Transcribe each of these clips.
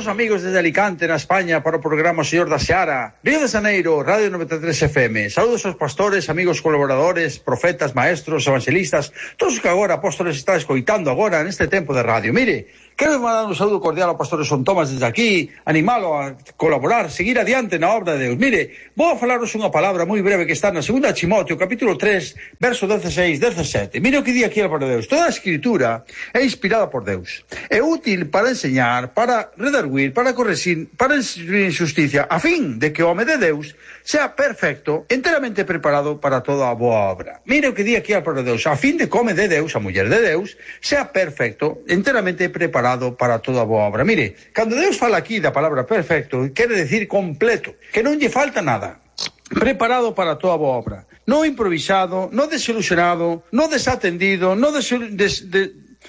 os amigos desde Alicante, na España, para o programa Señor da Seara. Río de Janeiro, Radio 93 FM. Saúdos aos pastores, amigos colaboradores, profetas, maestros, evangelistas, todos os que agora apóstoles están escoitando agora neste tempo de radio. Mire, quero mandar un saúdo cordial ao pastor Son Tomás desde aquí, animalo a colaborar, seguir adiante na obra de Deus. Mire, vou a falaros unha palabra moi breve que está na 2 Timoteo, capítulo 3, verso 16-17. Mire o que di aquí a palabra de Deus. Toda a escritura é inspirada por Deus. É útil para enseñar, para redarguir, para corregir, para instruir en justicia, a fin de que o home de Deus sea perfecto, enteramente preparado para toda a boa obra. Mire o que di aquí a palabra de Deus. A fin de que o home de Deus, a muller de Deus, sea perfecto, enteramente preparado para toda a boa obra. Mire, cando Deus fala aquí da palabra perfecto, quere decir completo, que non lle falta nada. Preparado para toda a boa obra. Non improvisado, non desilusionado, non desatendido, non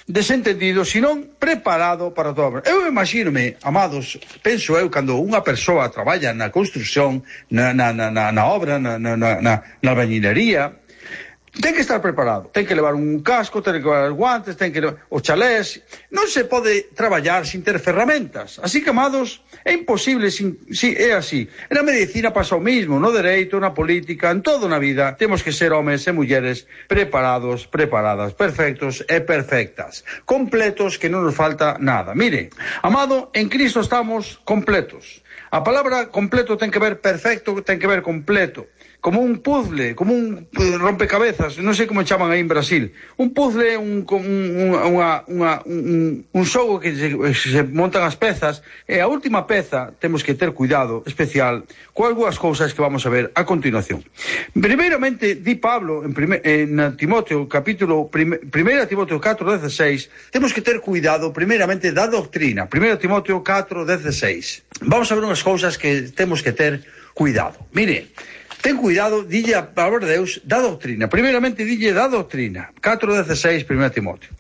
desentendido, senón preparado para toda a obra. Eu imagínome, amados, penso eu, cando unha persoa traballa na construción, na obra, na albañilería, ten que estar preparado, ten que levar un casco, ten que levar guantes, ten que levar os chalés. Non se pode traballar sin ter ferramentas. Así que, amados, é imposible é así. Na medicina pasa o mismo, no dereito, na política, en todo na vida, temos que ser homes e mulleres preparados, preparadas, perfectos e perfectas, completos, que non nos falta nada. Mire, amado, en Cristo estamos completos. A palabra completo ten que ver perfecto, ten que ver completo. Como un puzzle, como un rompecabezas, non sei como chaman aí en Brasil. Un puzzle, un xogo que se montan as pezas, e a última peza temos que ter cuidado especial con algunhas cousas que vamos a ver a continuación. Primeiramente, di Pablo en Timoteo, capítulo 1 Timoteo 4:16, temos que ter cuidado primeiramente da doctrina. 1 Timoteo 4:16. Vamos a ver unhas cousas que temos que ter cuidado. Mire, ten cuidado, dille a palabra de Deus, da doctrina. Primeiramente, dille da doctrina. 4:16, 1 Timoteo.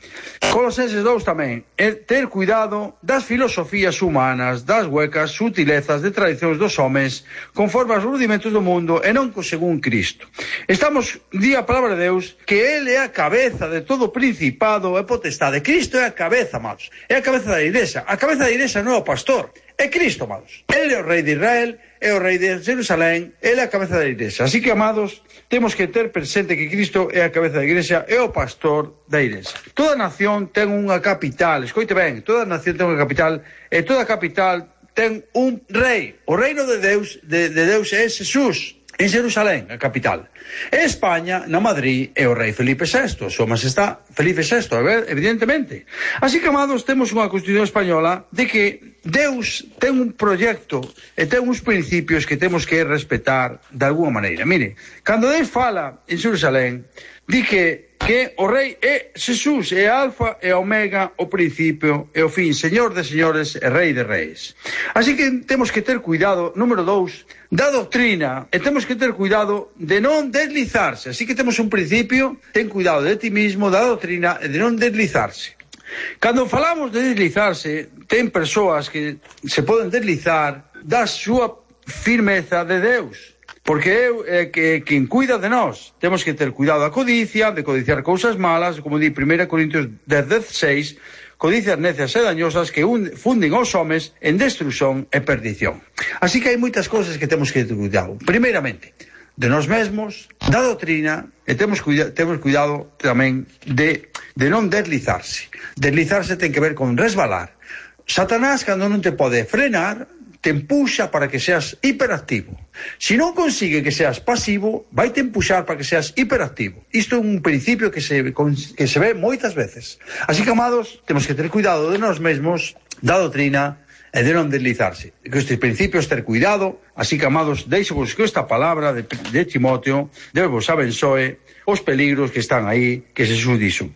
Colosenses 2 tamén. Ter cuidado das filosofías humanas, das huecas sutilezas de tradicións dos homes, conforme aos rudimentos do mundo, e non según Cristo. Di a palabra de Deus, que Ele é a cabeza de todo principado e potestade. Cristo é a cabeza, amados. É a cabeza da igrexa. A cabeza da igrexa non é o pastor. É Cristo, amados. Ele é o rei de Israel, é o rei de Jerusalén, ele é a cabeza da igrexa. Así que, amados, temos que ter presente que Cristo é a cabeza da igrexa, é o pastor da igrexa. Toda nación ten unha capital, escoite ben, toda nación ten unha capital, e toda capital ten un rei. O reino de Deus é Jesús, en Jerusalén, a capital. E España, na Madrid, é o rei Felipe VI, súa majestad Felipe VI, evidentemente. Así que, amados, temos unha Constitución española de que Deus ten un proxecto e ten uns principios que temos que respetar de alguna maneira. Mire, cando Deus fala en Jerusalén, di que o rei é Jesús, é alfa e omega, o principio e o fin, señor de señores e rei de reis. Así que temos que ter cuidado, número 2, da doctrina, e temos que ter cuidado de non deslizarse. Así que temos un principio, ten cuidado de ti mismo, da doctrina e de non deslizarse. Cando falamos de deslizarse, ten persoas que se poden deslizar da súa firmeza de Deus. Porque é quen cuida de nós. Temos que ter cuidado da codicia, de codiciar cousas malas, como di 1 Corintios 10:16, codicias necias e dañosas que funden aos homes en destrución e perdición. Así que hai moitas cousas que temos que ter cuidado. Primeiramente, de nós mesmos, da doctrina, e temos cuidado tamén de non deslizarse. Deslizarse ten que ver con resbalar. Satanás, cando non te pode frenar, te empuxa para que seas hiperactivo. Se non consigue que seas pasivo, vai te empuxar para que seas hiperactivo. Isto é un principio que se ve moitas veces. Así que, amados, temos que ter cuidado de nós mesmos, da doutrina, e de non deslizarse. Que estes principios ter cuidado. Así que, amados, deixo-vos que esta palabra de Timoteo, Deus vos abençoe os peligros que están aí, que Jesús dixo.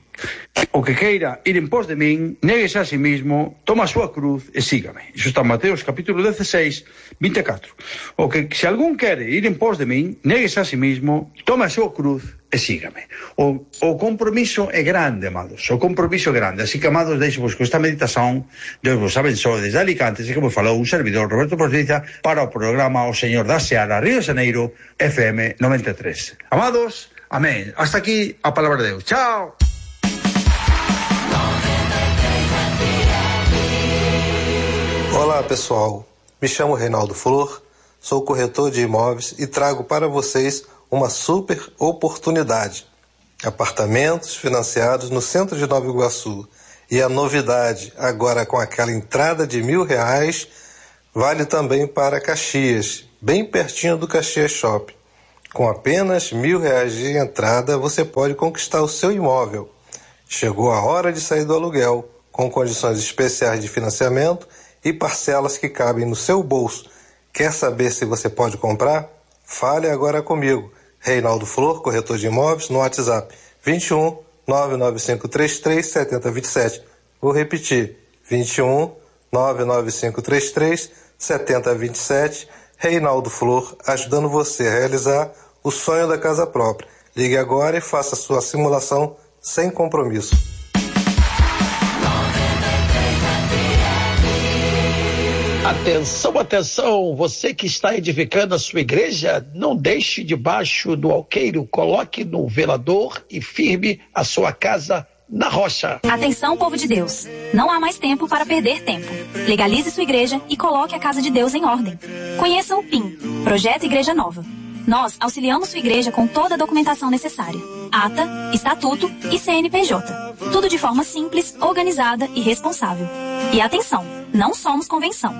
O que queira ir en pos de min, néguese a sí mismo, toma a súa cruz e sígame. Iso está en Mateos capítulo 16:24. O que se algún quere ir en pos de min, néguese a sí mismo, toma a súa cruz e sígame. O compromiso é grande, amados. O compromiso é grande. Así que, amados, deixo-vos con esta meditación. Deus vos abençoe desde Alicante, que vos falou un servidor, Roberto Portiza, para o programa O Señor da Seara, Río de Janeiro, FM 93. Amados, amén. Hasta aquí a palabra de Deus. Chao. Olá, Olá pessoal, me chamo Reinaldo Flor, sou corretor de imóveis e trago para vocês uma super oportunidade. Apartamentos financiados no centro de Nova Iguaçu. E a novidade, agora com aquela entrada de R$1.000, vale também para Caxias, bem pertinho do Caxias Shopping. Com apenas R$1.000 de entrada, você pode conquistar o seu imóvel. Chegou a hora de sair do aluguel, com condições especiais de financiamento e parcelas que cabem no seu bolso. Quer saber se você pode comprar? Fale agora comigo. Reinaldo Flor, corretor de imóveis, no WhatsApp 21 99533 7027. Vou repetir, 21 99533 7027. Reinaldo Flor, ajudando você a realizar o sonho da casa própria. Ligue agora e faça sua simulação sem compromisso. Atenção, atenção, você que está edificando a sua igreja, não deixe debaixo do alqueiro, coloque no velador e firme a sua casa na rocha. Atenção, povo de Deus, não há mais tempo para perder tempo. Legalize sua igreja e coloque a casa de Deus em ordem. Conheça o PIN, Projeto Igreja Nova. Nós auxiliamos sua igreja com toda a documentação necessária. Ata, estatuto e CNPJ. Tudo de forma simples, organizada e responsável. E atenção, não somos convenção.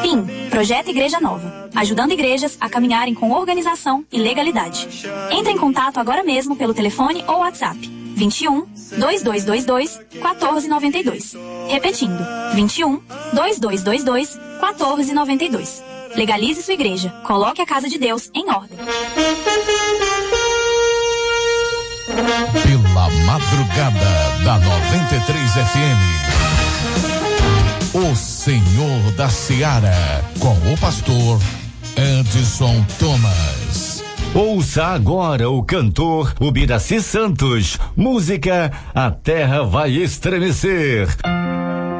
PIN, Projeto Igreja Nova. Ajudando igrejas a caminharem com organização e legalidade. Entre em contato agora mesmo pelo telefone ou WhatsApp. 21 2222 1492. Repetindo, 21 2222 1492. Legalize sua igreja. Coloque a casa de Deus em ordem. Pela madrugada da 93 FM. O Senhor da Seara, com o pastor Edson Thomas. Ouça agora o cantor Ubiraci Santos. Música A Terra Vai Estremecer.